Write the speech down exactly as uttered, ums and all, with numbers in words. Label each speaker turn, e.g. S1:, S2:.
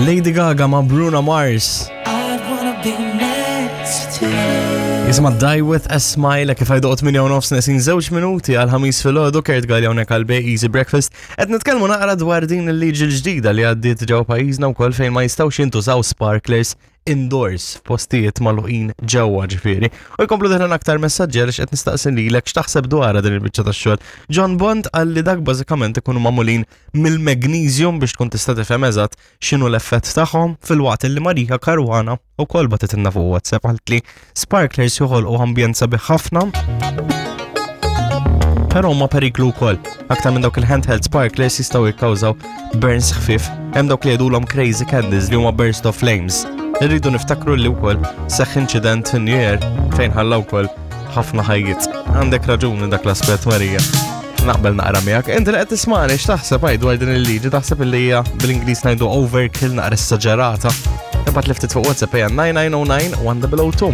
S1: Lady Gaga ma' Bruno Mars.
S2: I'd wanna be next to you.
S1: Jisimha Die With a Smile, kif għajdu tmienja u nofs, neqsin żewġ minuti għal ħamis filgħodu. Kurt Galea hawnhekk għal Easy Breakfast. Qed nitkellmu naqra dwar din il-liġi l-ġdida li għaddiet ġewwa pajjiżna wkoll, fejn ma jistgħux jintużaw sparklers indoors, postijiet magħluqin ġewwa ġifieri. U jkomplu deħlin aktar messaġġi għaliex qed nistaqsi lilek x'taħseb dwar din il-biċċa tax-xogħol. John Bond qal li dak bażikament ikunu magħmulin mill-magnesium biex tkun tista' tifhem eżatt x'inhu l-effett tagħhom, filwaqt li Marika Caruana ukoll bagħtitilna fuq WhatsApp, għalt li sparklers joħolqu ambjent sabiħ ħafna, però huma periklu wkoll. Aktar minn dawk il-handheld sparklers jistgħu jikkawżaw burns ħfif. Hemm dawk li jgħidulhom crazy candles li huma burst of flames. Irridu niftakru li wkoll seħħ inċident fin New Year fejn ħalla wkoll ħafna ħajjiet. Għandek raġuni dak l-aspett, Marija. Naqbel naqra miegħek. Inti li qed tismani, x'taħseb għaj dwar din il-liġi? Taħseb li hija, bil-Ingliż ngħidu, overkill, naqra esaġerata? Ibgħat li ftit fuq WhatsApp hija nine nine zero nine one zero zero two.